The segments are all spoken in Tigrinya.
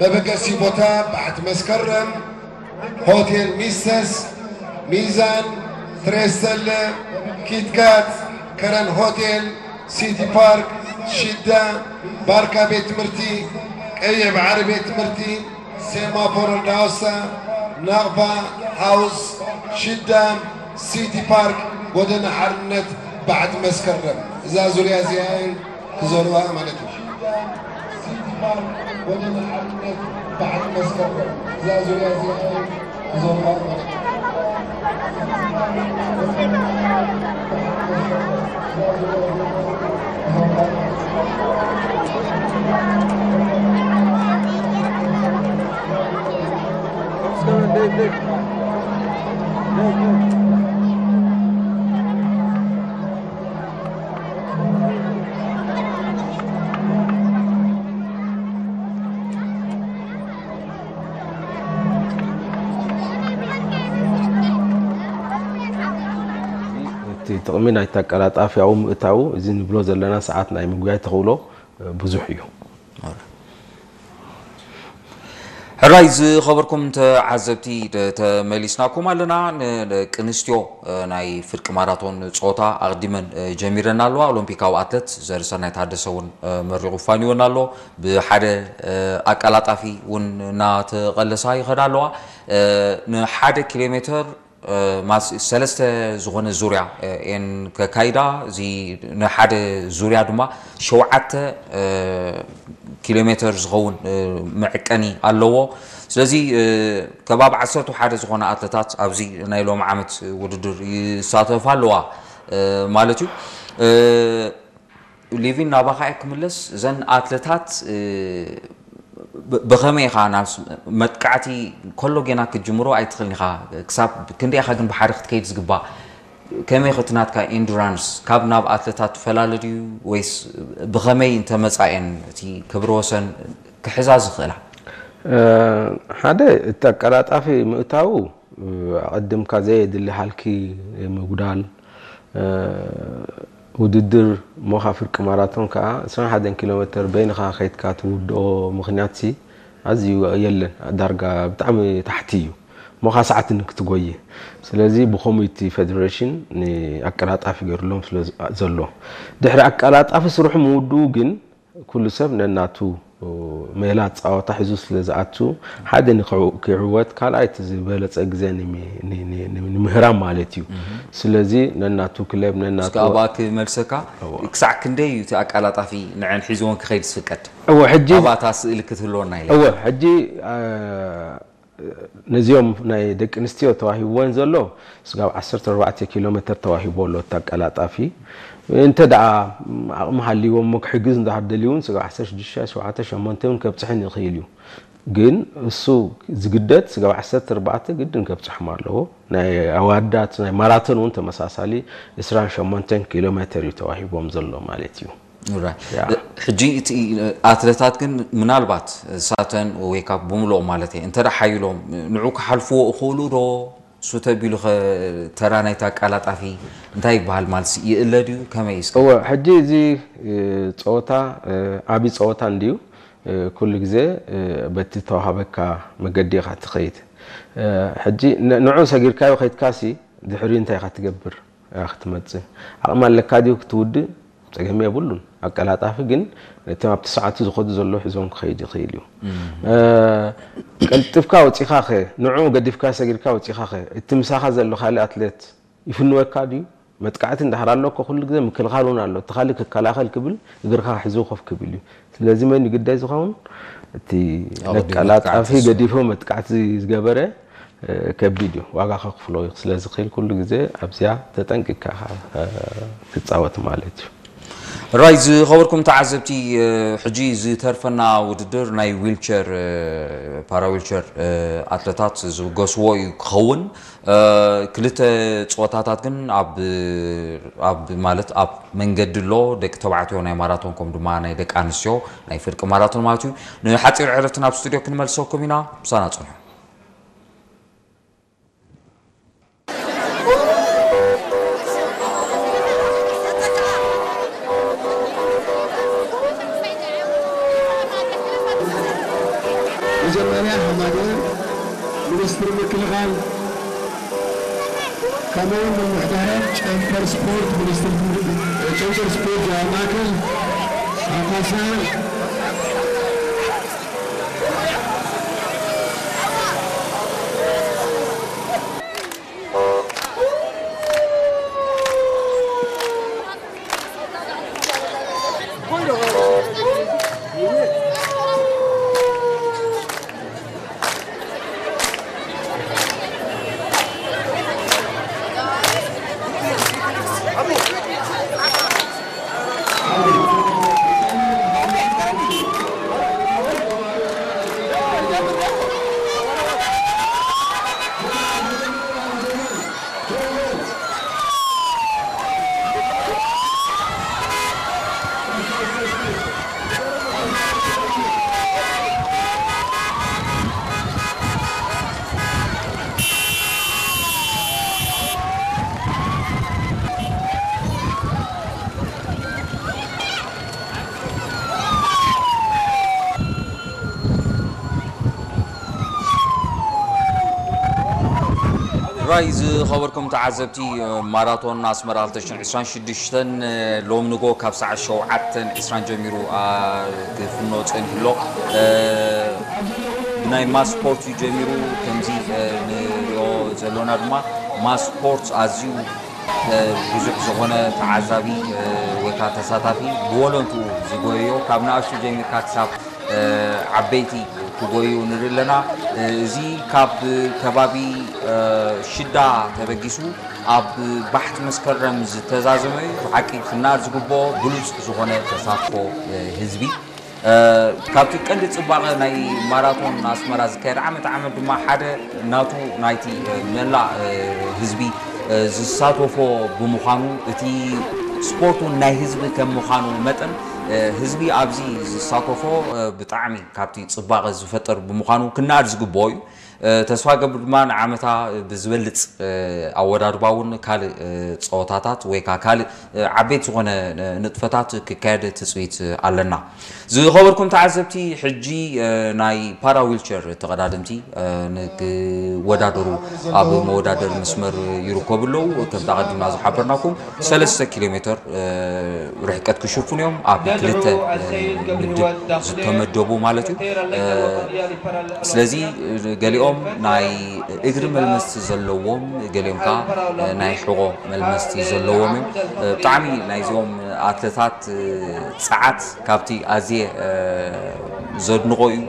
መበገሲ ቦታ ባሕቲ መስከረም፣ ሆቴል ሚሰስ፣ ሚዛን፣ ትሬስተለ፣ ኪትካት፣ ከረን ሆቴል፣ ሲቲ ፓርክ፣ ሽዳ፣ ባርካ ቤት ትምህርቲ፣ ቀይሕ ባሕሪ ቤት ትምህርቲ፣ ሴማፎር እንዳወሳ፣ ናቕፋ፣ ሃውስ፣ ሽዳ፣ ሲቲ ፓርክ፣ ጎደና ሓርነት፣ ባሕቲ መስከረም። እዛ ዙርያ እዚኣ እየን ክዞርዋ ማለት እዩ። እቲ ጥቕሚ ናይቲ ኣቀላጣፊ ኣብኡ ምእታዉ፣ እዚ ንብሎ ዘለና ሰዓት ናይ ምጉያይ ተኽእሎ ብዙሕ እዩ። ሕራይ ዝኸበርኩም ተዓዘብቲ፣ ተመሊስናኩም ኣለና። ንደቂ ኣንስትዮ ናይ ፍርቂ ማራቶን ጾታ ኣቕዲመን ጀሚረን ኣለዋ። ኦሎምፒካዊ ኣትለት ዘርሰናይ ታደሰ እውን መሪቑ ፋንዮን ኣሎ። ብሓደ ኣቀላጣፊ እውን እናተቐለሳ ይኸዳ ኣለዋ። ንሓደ ኪሎ ሜትር ሰለስተ ዝኾነ ዙርያ እየን ከካይዳ። እዚ ንሓደ ዙርያ ድማ ሸውዓተ ኪሎ ሜትር ዝኸውን መዕቀኒ ኣለዎ። ስለዚ ከባቢ ዓሰርተ ሓደ ዝኾነ ኣትለታት ኣብዚ ናይ ሎም ዓመት ውድድር ይሳተፋ ኣለዋ ማለት እዩ። ሊቪን ናባኻ እየ ክምለስ። እዘን ኣትለታት ብኸመይ ኢኻ ናብ መጥቃዕቲ ከሎ ጌና ክትጅምሮ ኣይትኽእልን ኢኻ። ክሳብ ክንደይ ኢኻ ግን ብሓደ ክትከይድ ዝግባእ? ከመይ ኢኻ እቲ ናትካ ኢንዱራንስ ካብ ናብ ኣትለታት ትፈላለ ድዩ ወይስ ብኸመይ እንተመጻ እየን እቲ ክብረ ወሰን ክሕዛ ዝኽእላ? ሓደ እቲ ኣቀላጣፊ ምእታዉ ኣቐድምካ ዘየድሊ ሃልኪ ምጉዳል ውድድር እሞ ካብ ፍርቂ ማራቶን ከዓ ዕስራን ሓደን ኪሎ ሜተር በይንኻ ከይድካ ትውድኦ ምኽንያት ሲ ኣዝዩ የለን። ዳርጋ ብጣዕሚ ታሕቲ እዩ እሞ ካብ ሰዓት ንክትጎይ። ስለዚ ብኸምኡ እቲ ፌደሬሽን ንኣቀላጣፊ ገይሩሎም ስለ ዘሎ ድሕሪ ኣቀላጣፊ ስርሑ ምውድኡ ግን ኩሉ ሰብ ነናቱ ሜላ ፃወታ ሒዙ ስለ ዝኣቱ ሓደ ንክዕወት ካልኣይ እቲ ዝበለፀ ግዜ ንምህራም ማለት እዩ። ስለዚ ነናቱ ክለብ ነናቱ እስከ ኣብኣ ክመልሰካ። ክሳዕ ክንደይ እዩ እቲ ኣቀላጣፊ ንዐን ሒዝዎን ክኸይድ ዝፍቀድ? እወ ሕጂ ኣብኣታ ስእሊ ክትህልወና ኢለ እወ ሕጂ ነዚኦም ናይ ደቂ ኣንስትዮ ተዋሂብወን ዘሎ ስጋብ ዓሰርተ ኣርባዕተ ኪሎ ሜተር ተዋሂቦ ኣሎ እቲ ኣቀላጣፊ። እንተ ደኣ ዓቕሚ ሃልይዎም እሞ ክሕግዝ እንድሕር ደልዩ እውን ስጋብ ዓሰርተ ሽዱሽተ፣ ሸውዓተ፣ ሸሞንተ እውን ከብፅሕን ይኽእል እዩ። ግን እሱ ዝግደድ ስጋብ ዓሰርተ ኣርባዕተ ግድን ከብፅሖም ኣለዎ። ናይ ኣዋዳት ናይ ማራቶን እውን ተመሳሳሊ ዕስራን ሸሞንተን ኪሎ ሜተር እዩ ተዋሂቦም ዘሎ ማለት እዩ። ሕጂ እቲ ኣትለታት ግን ምናልባት እሳተን ወይ ካብ ብምልኦም ማለት እየ እንተ ሓይሎም ንዑ ክሓልፍዎ እኽእሉ ዶ? ሱተ ቢሉ ኸ ተራ ናይቲ ኣቃላጣፊ እንታይ ይበሃል ማለት ይእለ ድዩ ከመይ እስከ? እወ ሕጂ እዚ ፀወታ ዓብዪ ፀወታ እንድዩ። ኩሉ ግዜ በቲ ተዋሃበካ መገዲ ኢኻ ትኸይድ። ሕጂ ንዑ ሰጊርካዮ ከይድካሲ ድሕሪኡ እንታይ ኢኻ ትገብር? ክትመጽእ ዓቕሚ ኣለካ ድዩ ክትውድእ? ጸገም የብሉን። ኣቀላጣፊ ግን ነቶም ኣብቲ ሰዓቱ ዝኸዱ ዘለዉ ሒዞም ክኸይድ ይኽእል እዩ። ቀልጢፍካ ወጺኻ ኸ ንዕኡ ገዲፍካ ሰጊርካ ወጺኻ ኸ እቲ ምሳኻ ዘሎ ካልእ ኣትሌት ይፍንወካ ድዩ? መጥቃዕቲ እንድሕር ኣሎ እኮ ኩሉ ግዜ ምክልኻል እውን ኣሎ። እቲ ካልእ ክከላኸል ክብል እግርካ ክሕዝዎ ኮፍ ክብል እዩ። ስለዚ መን እዩ ግዳይ ዝኸውን? እቲ ኣቐዲሙ ነቀላጣፊ መጥቃዕቲ ዝስዕብ። ገዲፉ መጥቃዕቲ ዝገበረ ከቢድ እዩ፣ ዋጋ ከኽፍሎ ስለ ዝኽእል ኩሉ ግዜ ኣብዚኣ ተጠንቂቕካ ክትፃወት ማለት እዩ። ራይ ዝኸበርኩም ተዓዘብቲ፣ ሕጂ ዝተርፈና ውድድር ናይ ዊልቸር ፓራ ዊልቸር ኣትለታት ዝብገስዎ እዩ ክኸውን። ክልተ ፀወታታት ግን ኣብ ኣብ ማለት ኣብ መንገዲ ኣሎ። ደቂ ተባዕትዮ ናይ ማራቶን ከም ድማ ናይ ደቂ ኣንስትዮ ናይ ፍርቂ ማራቶን ማለት እዩ። ንሓፂር ዕረፍቲ ናብ ስቱድዮ ክንመልሰኩም ኢና። ምሳና ፅንሑ። መጀመርያ ሓደ ሚኒስትር ምክልኻል ከምኡውን ምምሕዳራት ጨንፈር ስፖርት ሚኒስትር ጨንፈር ስፖርት ዞባ ማእከል ኣቶ ሳህል ራይ ዝኸበርኩም ተዓዘብቲ፣ ማራቶን ኣስመራ ክልተ ሽሕን ዕስራን ሽዱሽተን ሎም ንጎ ካብ ሰዓት ሸውዓተን ዕስራን ጀሚሩ ክፍኖ ጸኒሑ ኣሎ። ብናይ ማስ ስፖርት እዩ ጀሚሩ። ከምዚ ንሪኦ ዘሎና ድማ ማስ ስፖርት ኣዝዩ ብዙሕ ዝኾነ ተዓዛቢ ወይ ከዓ ተሳታፊ ብወለንትኡ ዝጎየዮ፣ ካብ ንኣሽቱ ጀሚርካ ክሳብ ዓበይቲ ክጎዩ ንርኢ ኣለና። እዚ ካብ ከባቢ ሽዳ ተበጊሱ ኣብ ባሕቲ መስከረም ዝተዛዘመ እዩ። ብሓቂ ክናር ዝግብኦ ብሉፅ ዝኾነ ተሳትፎ ህዝቢ። ካብቲ ቀንዲ ፅባቐ ናይ ማራቶን ኣስመራ ዝካየድ ዓመት ዓመት ድማ ሓደ ናቱ ናይቲ መላእ ህዝቢ ዝሳተፎ ብምዃኑ፣ እቲ ስፖርት እውን ናይ ህዝቢ ከም ምዃኑ መጠን፣ ህዝቢ ኣብዚ ዝሳተፎ ብጣዕሚ ካብቲ ፅባቐ ዝፈጥር ብምዃኑ ክናኣድ ዝግብኦ እዩ። ተስፋ ገብር ድማ ንዓመታ ብዝበልፅ ኣወዳድባ እውን ካልእ ፀወታታት ወይ ከዓ ካልእ ዓበይቲ ዝኾነ ንጥፈታት ክካየድ ትፅቢት ኣለና። ዝኸበርኩም ተዓዘብቲ፣ ሕጂ ናይ ፓራ ዊልቸር ተቐዳደምቲ ንክወዳደሩ ኣብ መወዳደሪ መስመር ይርከቡ ኣለዉ። ከምቲ ኣቐዲምና ዝሓበርናኩም ሰለስተ ኪሎ ሜትር ርሕቀት ክሽፍኑ እዮም፣ ኣብ ክልተ ምድብ ዝተመደቡ ማለት እዩ። ስለዚ ገሊኦም ናይ እግሪ መልመስቲ ዘለዎም፣ ገሊኦም ከዓ ናይ ሕቖ መልመስቲ ዘለዎም እዮም። ብጣዕሚ ናይዚኦም ኣትለታት ጸዓት ካብቲ ኣዝየ ዘድንቖ እዩ፣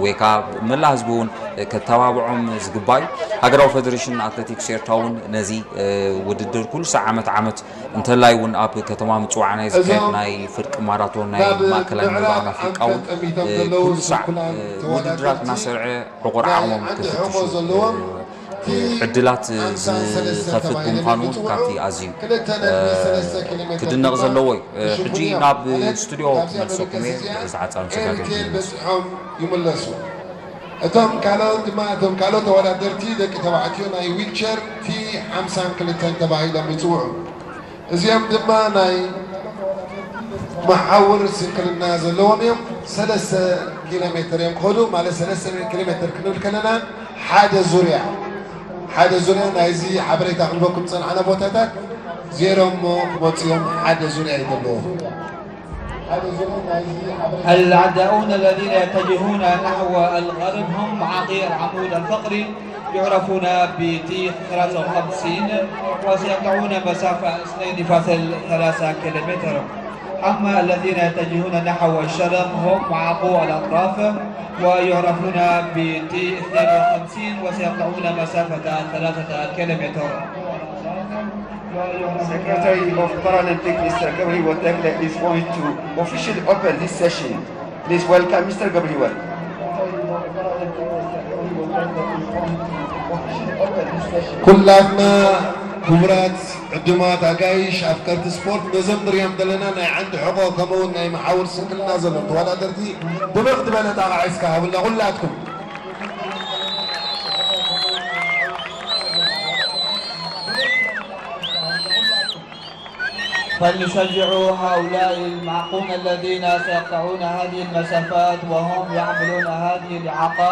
ወይ ከዓ መላእ ህዝቢ እውን ከተባብዖም ዝግባእ እዩ። ሃገራዊ ፌደሬሽን ኣትሌቲክስ ኤርትራ እውን ነዚ ውድድር ኩሉ ሳዕ ዓመት ዓመት እንተላይ እውን ኣብ ከተማ ምጽዋዕ ናይ ዝካየድ ናይ ፍርቂ ማራቶን ናይ ማእከላይ ምብራቕ ኣፍሪቃ እውን ኩሉ ሳዕ ውድድራት እናሰርዐ ዕቑር ዓቕሞም ክፍትሹ ዕድላት ዝኸፍት ብምዃኑ እውን ካብቲ ኣዝዩ ክድነቕ ዘለዎ እዩ። ሕጂ ናብ ስቱድዮ ክመልሰኩም እየ። ዝዓጻሩ ሰጋገ ይመለሱ። እቶም ካልኦት ድማ እቶም ካልኦት ተወዳደርቲ ደቂ ተባዕትዮ ናይ ዊልቸር ቲ ሓምሳን ክልተን ተባሂሎም ይፅውዑ። እዚኦም ድማ ናይ መሓውር ስንክልና ዘለዎም እዮም። ሰለስተ ኪሎ ሜትር እዮም ክኸዱ፣ ማለት ሰለስተ ኪሎ ሜትር ክንብል ከለና ሓደ ዙርያ፣ ሓደ ዙርያ ናይዚ ሓበሬታ ክንበኩም ዝጸናሕና ቦታታት ዜሮ እሞ ክመጹ እዮም። ሓደ ዙርያ እዩ ዘለዎም። العداؤون الذين يتجهون نحو الغرب هم معاقي العمود الفقري، يعرفون ب تي ثلاثة وخمسين، وسيقطعون مسافة اثنين فاصل ثلاثة كيلومتر. أما الذين يتجهون نحو الشرق هم معاقو الأطراف، ويعرفون ب تي اثنين وخمسين، وسيقطعون مسافة ثلاثة كيلومتر. Secretary of Paralympic, Mister Gabriel Tekle, is going to officially open this session. Please welcome Mister Gabriel. ኩላትና ክቡራት ዕዱማት ኣጋይሽ ኣፍቀርቲ ስፖርት፣ ነዞም ንሪኦም ዘለና ናይ ዓንዲ ሕቖ ከምኡውን ናይ መሓውር ስንክልና ዘለዎም ተወዳደርቲ ብብቕ ዝበለ ጣቕዓ እስከ ሃቡልና ኩላትኩም። فلنشجع هؤلاء المعاقون الذين سيقطعون هذه المسافات وهم يحملون هذه الإعاقات.